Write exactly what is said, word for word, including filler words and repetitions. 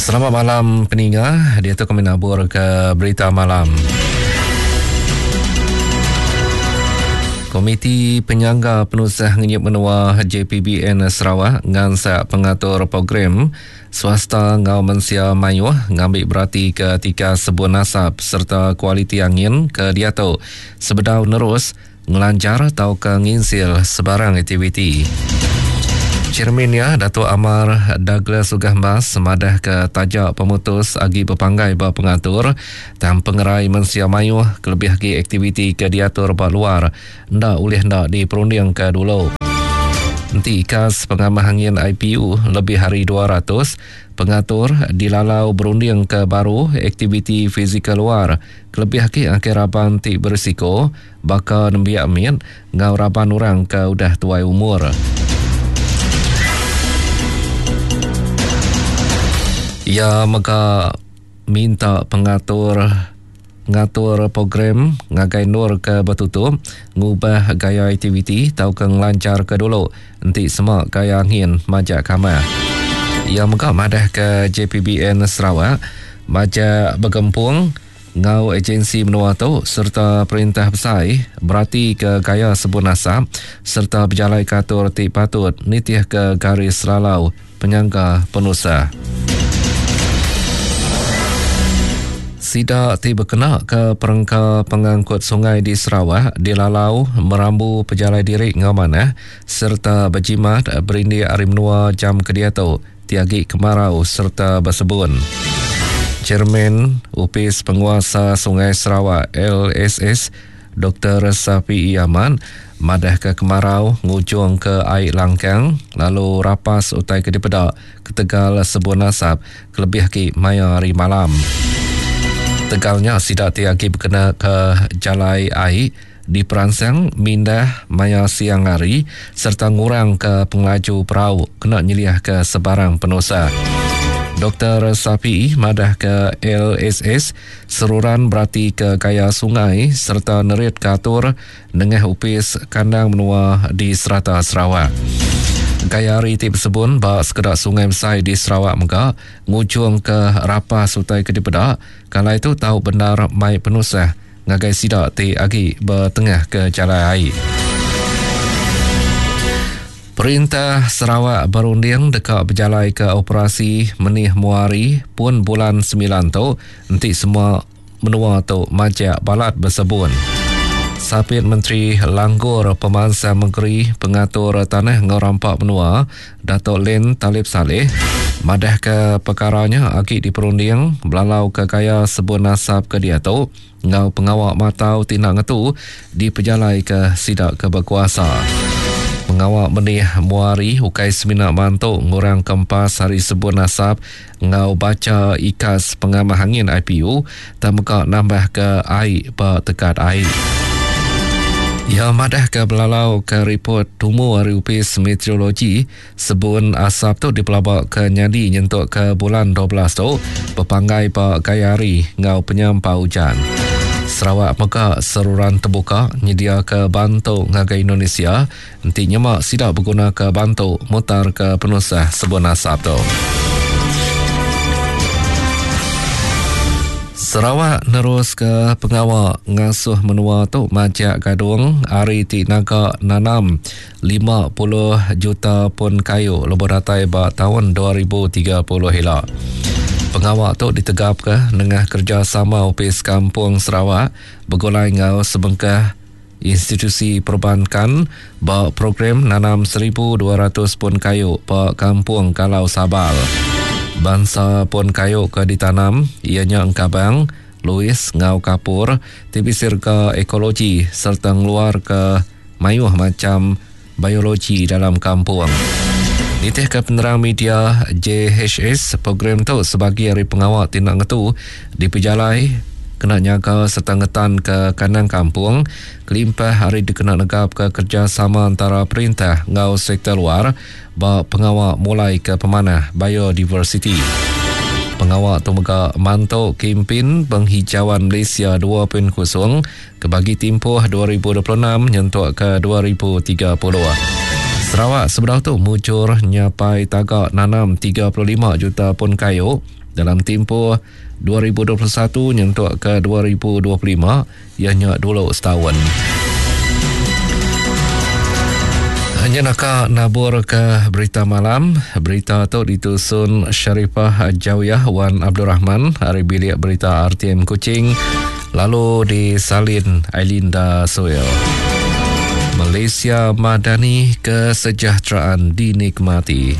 Selamat malam peninga, dia tu kami nabur ke berita malam. Komiti Penyangga Penusah Ngenyit Menua J P B N Sarawak ngansak pengatur program swasta ngau mensia mayuh ngambil berati ke tiga sebun asap serta kualiti angin ke diatu sebedau nerus ngelancar atau ke nginsil sebarang aktiviti. Chairman ya Datuk Amar Douglas Uggah Embas semadah ke tajak pemutus agi berpanggai ba pengatur tang pengerai mensia mayuh kelebih agi aktiviti ke diatur ba luar nda ulih nda diperunding ke dulu. Enti ikas pengamah angin I P U lebih hari dua ratus, pengatur dilalau berunding ke baru aktiviti fizikal luar kelebih agi akhir raban ti berisiko baka nembiak mit ngau raban orang ke udah tuai umur. Ia mega minta pengatur ngatur program ngagai nur ke bertutup ngubah gaya aktiviti tau ke ngelancar ke dulu enti sema gaya angin majak kamah. Ia mega madah ke J P B N Sarawak majak bergempung ngau agensi menua tu serta perintah besai berarti ke gaya sebun asap serta berjalai katur ti patut nitih ke garis lalau penyangga penusah. Sida ti berkena ke perengka pengangkut sungai di Sarawak dilalau merambu pejalai diri ngau manah serta berjimat berindik hari menua jam kediatu tiagi kemarau serta bersebun. Chairman Upis Penguasa Sungai Sarawak L S S Doktor Safiee Ahmad madah ke kemarau ngujung ke air langkang lalu rapas utai ke dipedak ketegal sebun asap kelebih ki maya hari malam. Tegalnya sidak tiagi berkena ke jalai air di peransang mindah maya siang hari serta ngurang ke pengelaju perahu kena nyeliah ke sebarang penusa. Doktor Safiee madah ke L S S seruran berarti ke gaya sungai serta nerit katur nengah upis kandang menua di serata Sarawak. Gaya hari ti bersebun ba sekedak sungai besai di Sarawak mega ngujung ke rapas utai ke dipedak kalau itu tahu benar mai penusah ngagai sidak ti agi bertengah ke jalan air. Perintah Sarawak berunding dekat berjalai ke operasi Menih Muari pun bulan sembilan tu enti semua menua tu majak balat bersebun. Sapit Menteri Langgur Pemansang Negeri Pengatur Tanah Ngau Rampak Menua Datuk Len Talib Saleh madah ke perkaranya agi diperunding belalau ke gaya sebun asap ke diatu ngau pengawak matau tindak ngetu di pejalai ke sidak ke berkuasa. Pengawak menih muari ukai semina mantuk ngurang kempas hari sebun asap ngau baca ikas pengamah angin I P U tak nambah ke air ba tekat air. Ya madah ke belalau ke report tumu hari upis meteorologi sebun asap tu dipelabak ke nyadi nyentuk ke bulan dua belas tu berpanggai ba gaya hari ngau penyampau hujan. Sarawak mega seruran terbuka nyedia ke bantu ngagai Indonesia enti nyemak sidak berguna ke bantu mutar ke penusah sebun asap tu. Sarawak nerus ke pengawak ngasuh menua tu majak gadung hari ti naga nanam lima puluh juta pun kayu lebih datai ba tahun dua ribu tiga puluh hila. Pengawak tu ditegap ke nengah kerjasama Opis Kampung Sarawak bergulai ngau sebengkah institusi perbankan ba program nanam seribu dua ratus pun kayu ba Kampung Kalau Sabal. Bangsa pun kayu ke ditanam ianya engkabang, Louis ngau kapur, tibisir ke ekologi serta ngeluar ke mayuh macam biologi dalam kampung. Nitih ke penerang media J H S, program tu sebagai hari pengawak tindak ngetu di pejalai kena nyaga serta ngetan ke kandang kampung, kelimpah hari dikena negap ke kerjasama antara perintah ngau sektor luar ba pengawak mulai ke pemanah biodiversity. Pengawak tu mega mantuk kempen penghijauan Malaysia dua titik kosong ke bagi tempoh dua ribu dua puluh enam nyentuk ke dua ribu tiga puluh. Sarawak sebelah tu mujur nyapai tagak nanam tiga puluh lima juta pun kayu Dalam timpuh dua ribu dua puluh satu nyentuk ke dua ribu dua puluh lima iya nya dulu setahun. Hanya naka nabur ke berita malam. Berita tu ditusun Sharifah Jawiyah Wan Abdul Rahman hari bilik berita R T M Kuching lalu disalin Ailinda Soel. Malaysia Madani, kesejahteraan dinikmati.